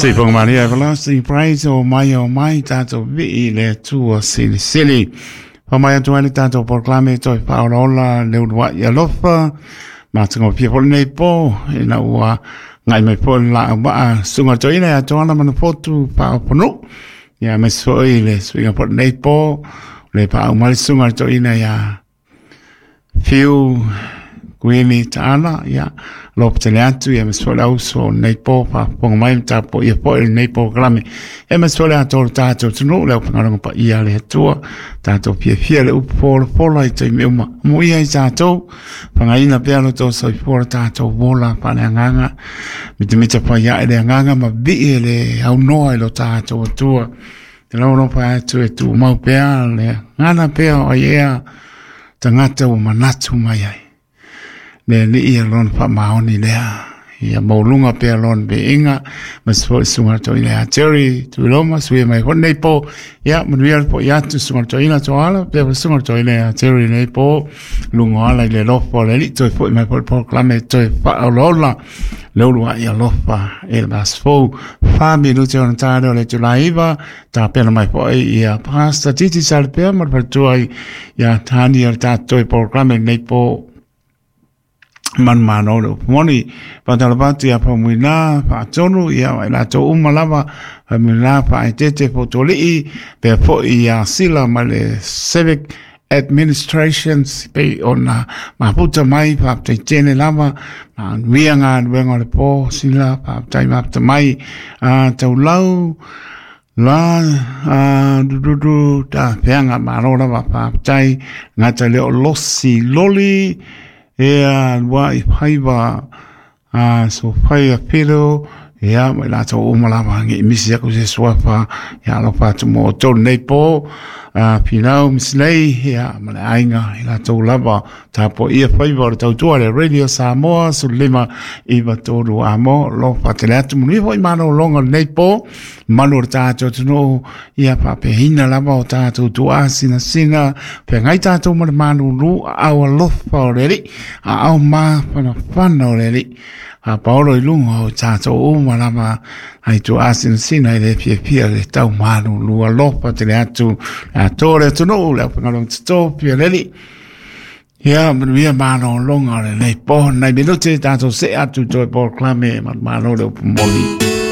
Se ponga maria everlasting praise o mai o mai tātou vii le Atua silisili. Fa mai atu ai le tātou polokalame toe faaolaola le uluai alofa. Matagofie foi lenei po ina ua ngai mai foi le laau maa susuga toeaina ia Toala Manufotu Faaoponuu. Ia aemaise foi le suiga foi lenei po le paau mai le susuga toeaina ia Fiu Kuini Taala, ia, lopa tele atu, ia aemaise foi le auso o lenei po, faafofoga mai ma tapuaia foi lenei polokalame. Ia aemaise foi le atoa o le tatou atunuu, le aufaigaluega paia a le Atua, tatou fiafia i le upu folafola i taimi uma. Amuia ai tatou, fagaina pea lo outou soifua lo tatou ola faaleagaga, mitamita fai ae le agaga ma vii e le aunoa i lo tatou Atua. Te alofa atu e tumau pea le gana pea o ai ea tagata ua manatu mai ai. Le Alii ia lona faamaoni lea. Ia maualuga pea lona viiga, aemaise foi susuga toeaina ia Jerry Tuiloma, suia mai foi lenei po. Ia, manuia le foi atu susuga toeaina Toala, pea foi susuga toeaina ia Jerry lenei po. Luga o ala i le alofa o le Alii, toe foi mai foi le polokalame toe faaolaola le uluai alofa i le vaiaso fou. 4 minute ona ta lea o le itula e 9, tapena mai foi ia Pastor Titi Salapea ma le faletua ia Tani o le tatou polokalame lenei po manumalo le upu moni. Faatalofa atu ia Faumuina Faatonu, ia ma i latou uma lava, Faumuina Faaeteete Fotolii, pea foi ia Sila ma le Civic Administrations pei ona mafuta mai, faafetai tele lava, manuia galuega o le po, Sila, faafetai mafuta mai, a taulau la a dududu ta feaga malo lava, faafetai gata le o losi loli ea lua i faiva a Sofaia Filo, ia ma i latou uma lava nge i misi aku se suafa, ia alofa atu mo outou lenei po, a Finau Misilei, ia ma le aiga i latou lava tapuaia faiva o le tautua le Radio Samoa 15 93 amo alofa tele atu manuia foi malologa lenei po malu o le tatou atunuu ia faapehina lava o tatou tuasinasina feagai tatou ma le malulu aao alofa o le Alii aao mafanafana o le Alii fapaolo i luga o tatou uma lava ai tuasinasina i le fiafia le tau malulu alofa tele atu le atoa o le atunuu le aufaigaluega totofi a le Alii. Ia, manuia malologa o lenei po. Nai minute tatou see atu toe polokalame manumalo le upu moni.